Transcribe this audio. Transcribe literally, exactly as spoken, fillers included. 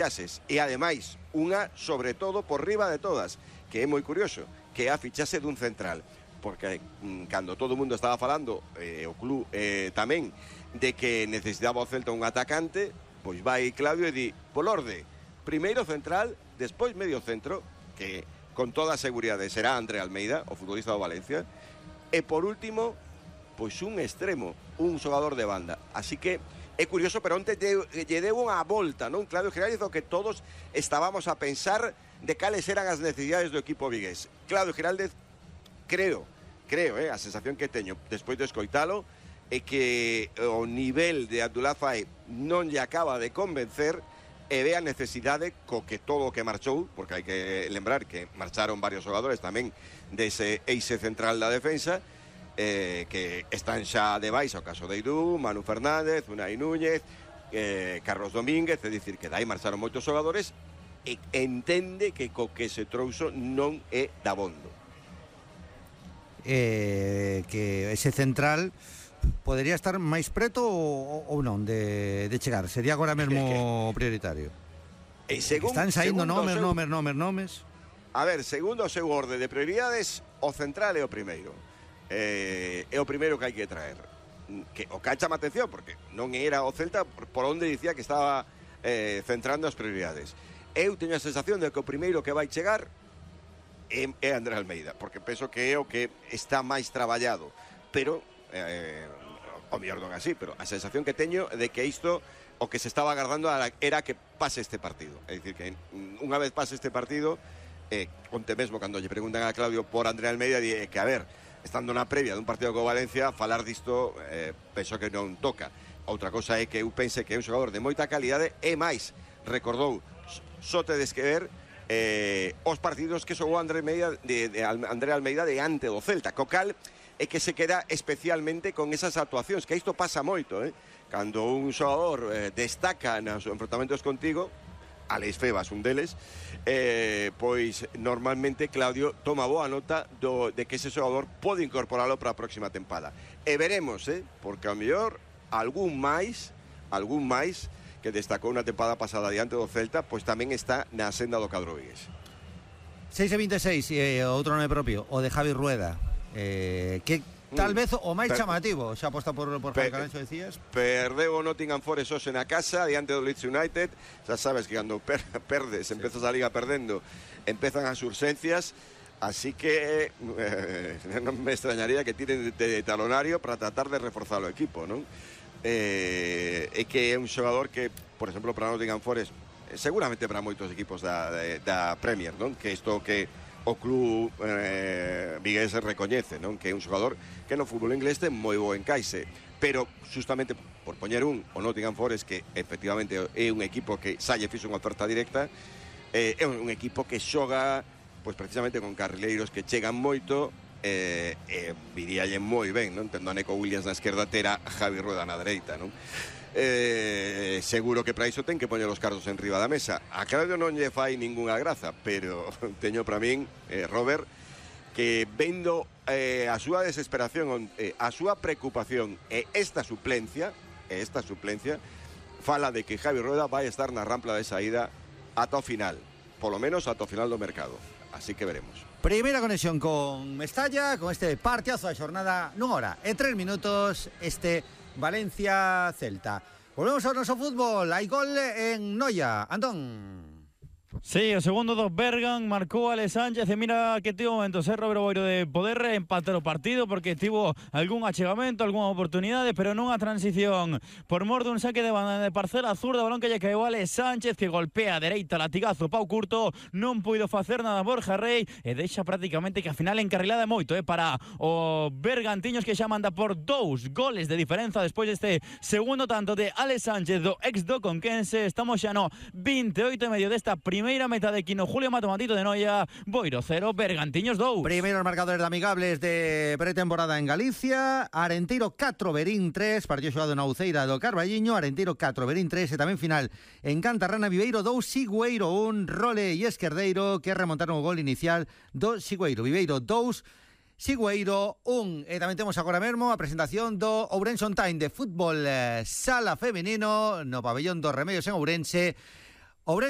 fichaxes e ademais unha sobre todo por riba de todas, que é moi curioso, que é a fichaxe dun central, porque mm, cando todo o mundo estaba falando, eh, o club eh, tamén, de que necesitaba o Celta un atacante, pois vai Claudio e di, por orde, primeiro central, despois medio centro, que con toda a seguridade será André Almeida, o futbolista do Valencia, e por último, pois un extremo, un xogador de banda. Así que é curioso, pero onte lle deu unha volta, non? Claudio Giraldez, o que todos estábamos a pensar de cales eran as necesidades do equipo vigués. Claudio Giraldez, creo, creo, eh, a sensación que teño despois de escoitalo, é que o nivel de Abdullah Faé non lle acaba de convencer e ve a necesidade co que todo o que marchou, porque hai que lembrar que marcharon varios xogadores tamén dese eixe central da defensa, Eh, que están xa de baixa, o caso de Eidú, Manu Fernández, Unai Núñez, eh, Carlos Domínguez, é dicir, que dai marcharon moitos xogadores e entende que co que se trouxo non é dabondo. Eh, que ese central podería estar máis preto ou, ou non de, de chegar, sería agora mesmo que, prioritario. E según, están saindo nomes, seu, nomes, nomes, nomes. A ver, segundo o seu orde de prioridades, o central é o primeiro. Eh, é o primeiro que hai que traer, que o que chama atención porque non era o Celta por, por onde dicía que estaba eh, centrando as prioridades. Eu teño a sensación de que o primeiro que vai chegar é, é André Almeida, porque penso que é o que está máis traballado, pero eh, o mellor non así, pero a sensación que teño de que isto o que se estaba agardando era que pase este partido, é dicir que unha vez pase este partido, eh, onte mesmo cando lle preguntan a Claudio por André Almeida, di que a ver, estando na previa dun partido co Valencia, falar disto eh, penso que non toca. Outra cosa é que eu pense que é un xogador de moita calidade e máis, recordou, só tedes que ver eh, os partidos que xogou André Almeida de, de André Almeida de ante do Celta, co cal é que se queda especialmente con esas actuacións, que isto pasa moito, eh? Cando un xogador eh, destaca nos enfrontamentos contigo, Alex Febas, un deles, eh, pois normalmente Claudio toma boa nota do, de que ese xogador pode incorporalo para a próxima tempada. E veremos, eh, porque ao mellor algún máis, algún máis que destacou na tempada pasada diante do Celta, pois tamén está na senda do cadro vigués. seis e vinte e seis, eh, outro nome propio, o de Javi Rueda, eh, que tal vez o máis chamativo, xa aposta por, por Javi Carancho, decías. Perdeu o Nottingham Forest hoxe na casa diante do Leeds United. Xa sabes que cando per, perdes, empezas a liga perdendo, empezan as urxencias. Así que eh, non me extrañaría que tiren de, de talonario para tratar de reforzar o equipo, non? Eh, é que é un xogador que, por exemplo, para Nottingham Forest, seguramente para moitos equipos da, da Premier, non? Que isto que o club eh, vigués recoñece, non? Que é un xogador que no fútbol inglés ten moi bo encaixe, pero justamente por poñer un, o Nottingham Forest, que efectivamente é un equipo que xa lle fixo unha oferta directa, eh, é un equipo que xoga pois precisamente con carrileiros que chegan moito, eh, eh, viríalle moi ben, non? Tendo a Neco Williams na esquerda, terá Javi Rueda na dereita, non? Eh, seguro que para iso ten que poñer os cartos en riba da mesa. A Claudio non lle fai ningunha graza, pero teño para min, eh, Robert, que vendo eh, a súa desesperación, eh, a súa preocupación e esta suplencia, e esta suplencia fala de que Javi Rueda vai estar na rampla de saída ata o final, polo menos ata o final do mercado. Así que veremos. Primeira conexión con Mestalla, con este partidazo da xornada nunha hora e tres minutos, este Valencia-Celta. Volvemos ao noso fútbol. Hai gol en Noia. Antón. Sí, o segundo do Bergan marcou Alex Sánchez e mira que tivo momentos, eh, Roberto Boiro, de poder empatar o partido porque tivo algún achegamento, algunha oportunidade, pero nunha transición por mor dun saque de banda de parcela zurda, balón que lle caeu Alex Sánchez, que golpea a dereita, latigazo, pau curto, non puido facer nada Borja Rey e deixa prácticamente que a final encarrilada moito eh, para o Bergantiños, que xa manda por dous goles de diferenza despois deste segundo tanto de Alex Sánchez do ex do Conquense. Estamos xa no vinte e oito e medio desta primeira Primeira meta de Quino Julio Matomatito de Noia. Boiro cero, Bergantiños dous. Primeiros marcadores de amigables de pretemporada en Galicia. Arenteiro catro, Verín tres. Partido xogado na Uceira do Carballiño. Arenteiro catro, Verín tres. E tamén final en Cantarrana. Viveiro dous, Sigüeiro un. Role e Esquerdeiro que remontaron o gol inicial do Sigüeiro. Viveiro dous, Sigüeiro un. E tamén temos agora mesmo a presentación do Ourense On Time de fútbol eh, sala femenino no pabellón dos Remedios en Ourense. Ourense